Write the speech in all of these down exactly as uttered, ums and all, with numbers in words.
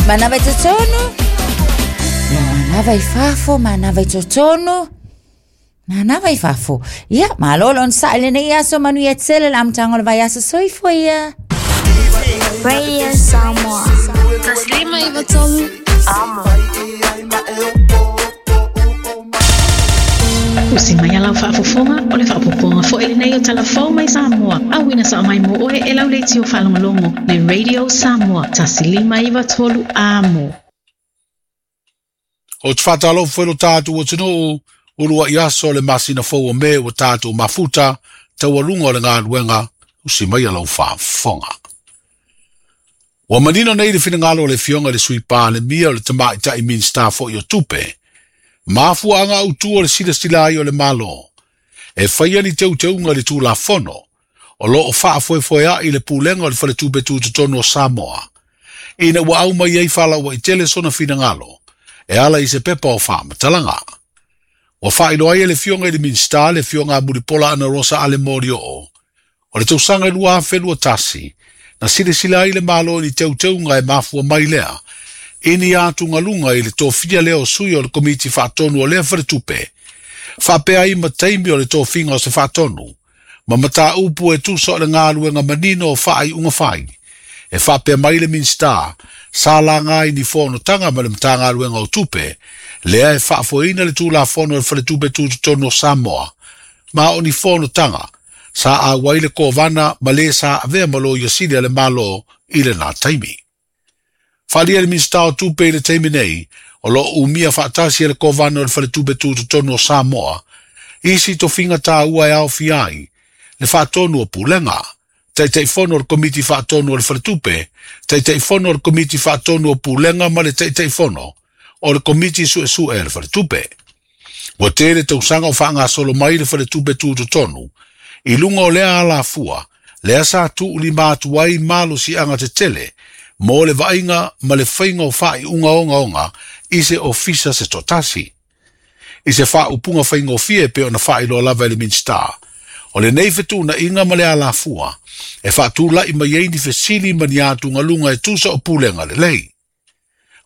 Manava i totonu. Manava i fafo, manava i totonu. Manava i fafo. Ia, malo le onosai lenei aso manuia tele le amataga o le vaiaso. Soifua ia. Radio Samoa. Taslima iwa tolu. Amo. Usi mai a lau faafofoga o le faapopoga fo'i lenei o talafou mai Samoa. Auina sa'a mai mo oe e lau leitio faalogologo le Radio Samoa tasi lima iwa tolu amo. O te whātalofu whelo tātou o tino ulua i aso le masina fou o me o tātou mafuta taualunga o le ngāluenga usi mai a lau faafofoga. Ua manino nei le finagalo o le fioga le sui Palemia o le tamaitai Minista fo'i o Tupe. Mafuaga autu o le silasila ai o le Malo. E faia ni teuteuga i le Tulafono o loo faafoefoea'i le pulega o le faletupe tutotonu o Samoa. Ina ua au mai ai faalauaitele sona finagalo e ala i se pepa o faamatalaga. Ua faailoa ai e le fioga i le Minista le fioga a Mulipola Ana Rosa Ale Molioo. O le tausaga i lua afe lua tasi, na silasila ai le Malo i ni teuteuga e mafua mai lea, ini atugaluga i le tofia lea o sui o le komiti faatonu o lea faletupe. Faapea ai ma taimi o le tofiga o se faatonu, ma mataupu e tusa o le galuega manino o faaiuga fai. E faapea mai le Minista, sa laga ai ni fonotaga ma le Matagaluega o Tupe, lea e faafoeina le Tulafono o le Faletupe Tutotonu o Samoa, ma o ni fonotaga, sa auai le kovana ma le sa avea ma loia sili a le Malo i lena taimi. Faaalia le Minista o Tupe i le taimi nei, o loo umia faatasi e le kovana o le Faletupe Tutotonu o Samoa, isi tofiga tāua e aofia ai, le faatonu o pulega, taitaifono o le komiti faatonu o le faletupe, taitaifono o le komiti faatonu o pulega ma le taitaifono o le komiti suesue a le faletupe. Ua tele tausaga o faagasolo mai le faletupe tutotonu, i luga o lea alafua, lea sa tuulima atu ai malosiaga tetele, mo le vaaiga ma le faiga o faaiuga ogaoga i se ofisa se toatasi. I se faaupuga faigofie pe ona faailoa lava e le Minista, o lenei fetuunaiga ma le alafua, e faatula'i mai ai ni fesili ma ni atugaluga e tusa o pulega lelei.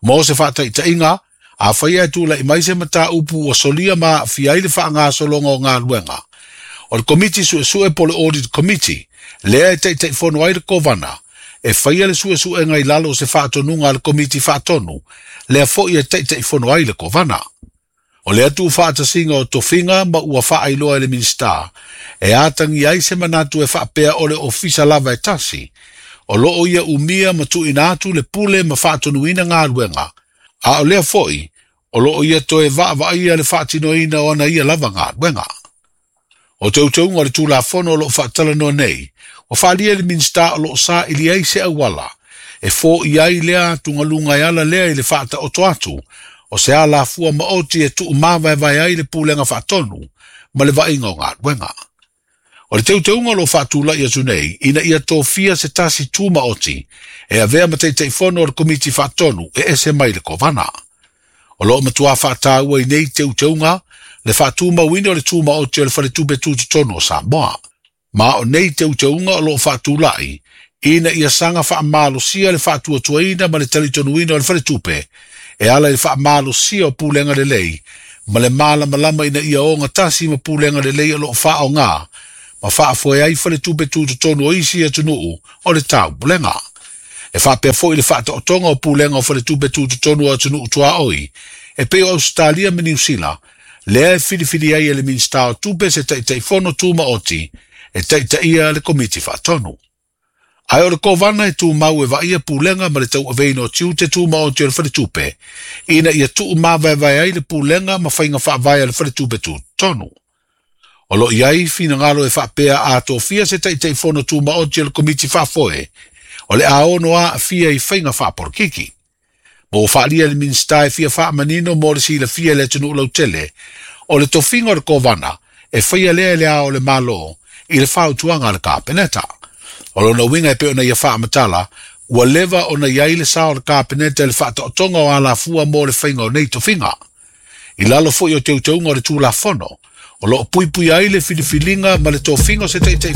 Mo se faataitaiga, afai ae tula'i mai se mataupu ua solia ma aafia ai le faagasologa o galuega. O le komiti suesue po le Audit Committee, lea e taitaifono ai le kovana, e faia le suesuega i lalo o se faatonuga a le komiti faatonu, lea fo'i e taitaifono ai le kovana. O lea tuufaatasiga o tofiga ma ua faailoa e le Minista, e atagi ai se manatu e faapea o le ofisa lava e tasi, o loo ia umia ma tuuina atu le pule ma faatonuina galuega, a o lea fo'i, o loo ia toe vaavaaia le faatinoina o ana ia lava galuega. O teuteuga o le Tulafono o loo faatalanoa nei, ua faaalia e le Minista o loo saili ai se auala, e fo'i ai lea atugaluga e ala lea i le faataoto atu, o se alafua maoti e tuumavaevae ai le pulega faatonu ma le vaaiga o galuega. O le teuteuga o loo faatula'i atu nei, ina ia tofia se tasi tumaoti e avea ma taitaifono o le komiti faatonu e ese mai le kovana. O loo matuā faataua i nei teuteuga le faatumauina o le tumaoti o le faletupe tutotonu o Samoa. Ma o nei teuteuga o loo faatula'i, ina ia saga faamalosia le faatuatuaina ma le talitonuina o le faletupe, e ala i le faamalosia o pulega lelei, ma le malamalama ina ia ogatasi ma pulega lelei o loo faaogā, ma faafoe ai faletupe tutotonu o isi atunuu o le taupulega. E faapea fo'i le faataotoga o pulega o faletupe tutotonu o atunuu tuaoi, e pei o Australia ma Niu Sila, lea e filifili ai e le Minista o Tupe se taitaifono tumaoti, e taitaia le komiti faatonu. Ae o le kovana e tumau e vaaia pulega ma le tauaveina o tiute tumaoti o le faletupe, ina ia tuumavaevae ai le pulega ma faiga faavae a le faletupe tutotonu. O loo iai finagalo e faapea a tofia se taitaifono tumaoti o le komiti faafoe, o le aono aafia i faiga faapolokiki. Ma ua faaalia le Minista e fia faamanino mo le silafia i le atunuu lautele, o le tofiga o le kovana e faia lea e le ao o le Malo i le fautuaga a le Kapeneta. O lona uiga e pei ona ia faamatala, ua leva ona iai le sa o le Kapeneta i le faataotoga o alafua mo le faiga o nei tofiga. I lalo fo'i o teuteuga o le Tulafono, o loo puipui ai le filifiliga ma le tofiga o se taitaifono